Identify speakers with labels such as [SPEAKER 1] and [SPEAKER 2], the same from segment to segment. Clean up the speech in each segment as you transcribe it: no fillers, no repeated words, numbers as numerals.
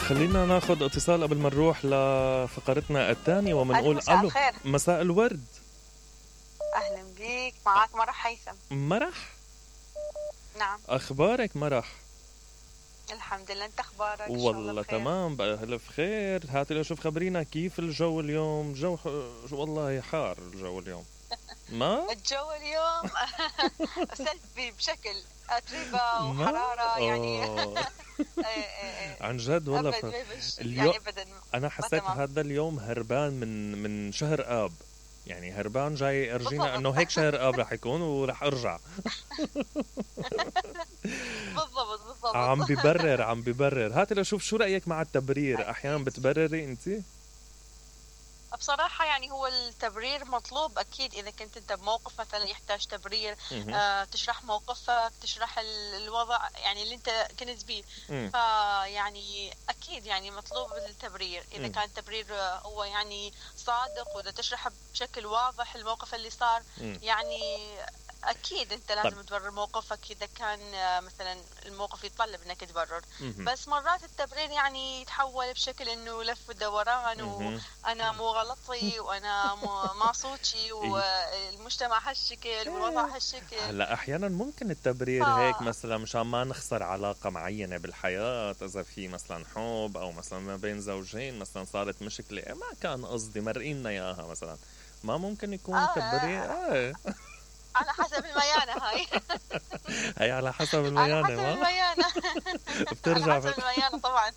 [SPEAKER 1] خلينا ناخد اتصال قبل ما نروح لفقرتنا الثانية ومنقول
[SPEAKER 2] مساء
[SPEAKER 1] ألو.
[SPEAKER 2] الخير.
[SPEAKER 1] مساء الورد.
[SPEAKER 2] أهلا بيك، معك مرح هيثم.
[SPEAKER 1] مرح،
[SPEAKER 2] نعم
[SPEAKER 1] أخبارك مرح؟
[SPEAKER 2] الحمد لله، أنت أخبارك؟ إن شاء الله
[SPEAKER 1] والله
[SPEAKER 2] بخير.
[SPEAKER 1] تمام بألف خير. هاتي لو شوف خبرينا كيف الجو اليوم. جو والله حار الجو اليوم. ما
[SPEAKER 2] الجو اليوم سلبي بشكل أتربة وحرارة يعني.
[SPEAKER 1] عن جد والله
[SPEAKER 2] أبد
[SPEAKER 1] اليوم
[SPEAKER 2] يعني أبدا.
[SPEAKER 1] أنا حسيت
[SPEAKER 2] تمام.
[SPEAKER 1] هذا اليوم هربان من شهر آب، يعني هربان جاي أرجينا
[SPEAKER 2] بالضبط.
[SPEAKER 1] إنه هيك شهر آب رح يكون ورح أرجع.
[SPEAKER 2] بالضبط.
[SPEAKER 1] عم ببرر. هاتي لشوف شو رأيك مع التبرير. أحيانا بتبرري أنتي؟
[SPEAKER 2] بصراحة يعني هو التبرير مطلوب أكيد إذا كنت أنت بموقف مثلا يحتاج تبرير، تشرح موقفك، تشرح الوضع يعني اللي أنت كنت بيه. فيعني أكيد يعني مطلوب التبرير إذا كان التبرير هو يعني صادق، وإذا تشرح بشكل واضح الموقف اللي صار. يعني أكيد أنت لازم تبرر موقفك إذا كان مثلا الموقف يتطلب أنك تبرر. بس مرات التبرير يعني يتحول بشكل أنه لف ودوران، وأنا مو غلطي وأنا ما صوتي والمجتمع هالشكل والوضع هالشكل.
[SPEAKER 1] هلا أحيانا ممكن التبرير هيك مثلا مشان ما نخسر علاقة معينة بالحياة، إذا في مثلا حب أو مثلا ما بين زوجين مثلا صارت مشكلة ما كان قصدي مرقينا إياها مثلا، ما ممكن يكون تبرير.
[SPEAKER 2] على حسب الميانة هاي.
[SPEAKER 1] هي على حسب الميانة.
[SPEAKER 2] على حسب الميانة.
[SPEAKER 1] بترجع
[SPEAKER 2] على حسب الميانة طبعا.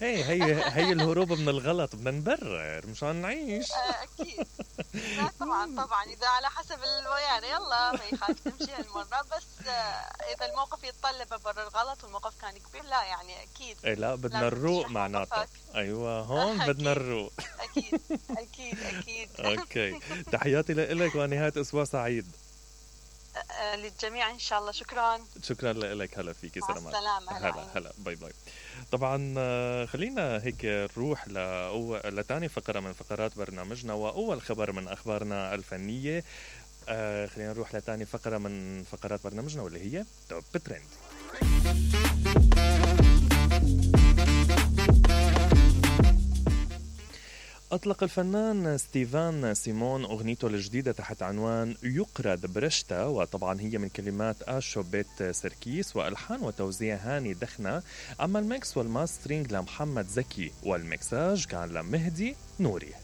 [SPEAKER 1] هي الهروب من الغلط، بدنا نبرر مشان نعيش.
[SPEAKER 2] أكيد. لا طبعا إذا على حسب الميانة يلا ما يخالف تمشي هالمرة. بس إذا الموقف يتطلب أبرر غلط والموقف كان كبير، لا يعني أكيد.
[SPEAKER 1] لا بدنا الروق معناته. أيوة هون بدنا الروق.
[SPEAKER 2] أكيد.
[SPEAKER 1] أوكي، تحياتي لك ونهاية أسبوع سعيد
[SPEAKER 2] للجميع إن شاء الله. شكرا
[SPEAKER 1] لك. هلا فيكي. سلامات.
[SPEAKER 2] السلامة.
[SPEAKER 1] هلا باي. طبعا خلينا هيك نروح لتاني فقرة من فقرات برنامجنا وأول خبر من أخبارنا الفنية. خلينا نروح لتاني فقرة من فقرات برنامجنا واللي هي توب ترند. أطلق الفنان ستيفان سيمون أغنيته الجديدة تحت عنوان يقرد برشتا، وطبعا هي من كلمات آشو بيت سركيس وألحان وتوزيع هاني دخنة. أما الميكس والماسترينج لمحمد زكي والميكساج كان لمهدي نوري.